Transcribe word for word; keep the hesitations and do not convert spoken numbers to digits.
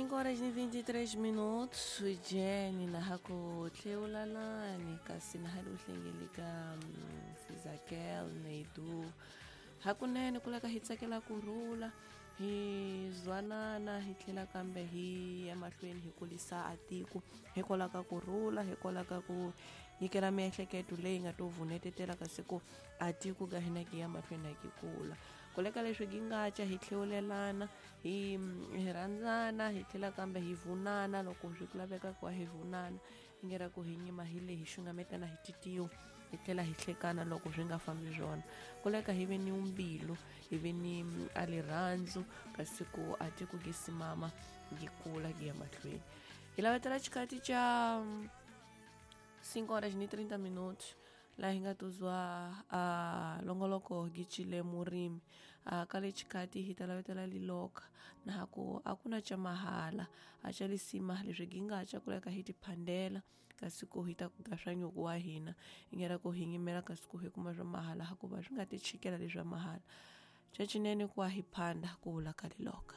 Cinco horas e vinte e três minutos, Jenny na haku tleulalani kasi na hali uhlengelika Sizakel Neidu hakunene kuleka hi tsakela kurhula hi zwanana hi tlhela kambe hi ya mahlweni hi kulisa atiko hikwalaho ka kurhula hikwalaho ka ku nyikela miehleketo leyi nga to vunetetela kasi ku atiko ka hina ki ya mahlweni na ki kula kuleka leswi gi nga ca hi tlhewulelana hi hi rhandzana hi tlhela kambe hi vunana loko swi laveka ku va hi vunana ingera ku hi nyima hi le hi xungametana hi titiyo hi tlhela hi hlekana loko swi nga fambi swona kuleka hi ve ni mbilu hi ve ni a rirhandzu kasi ku a ti ku gi simama gi kula gi ya mahlweni hi lavetela xikati xa cinco horas ni trinta minutos laha hi nga tuzwa a longoloko gi cile murimi a ka le xikati hi ta lavetela liloka na ku a ku na ca mahala a ca lisima leswi gi nga ca kuleka hi tiphandela kasi ku hi ta kuga swa nyuku wa hina ingera ku hi nyimela kasi ku hi kuma swa mahala hikuva swi nga ti chikela leswa mahala ca cinene ku wa hi phanda ku vula ka liloka.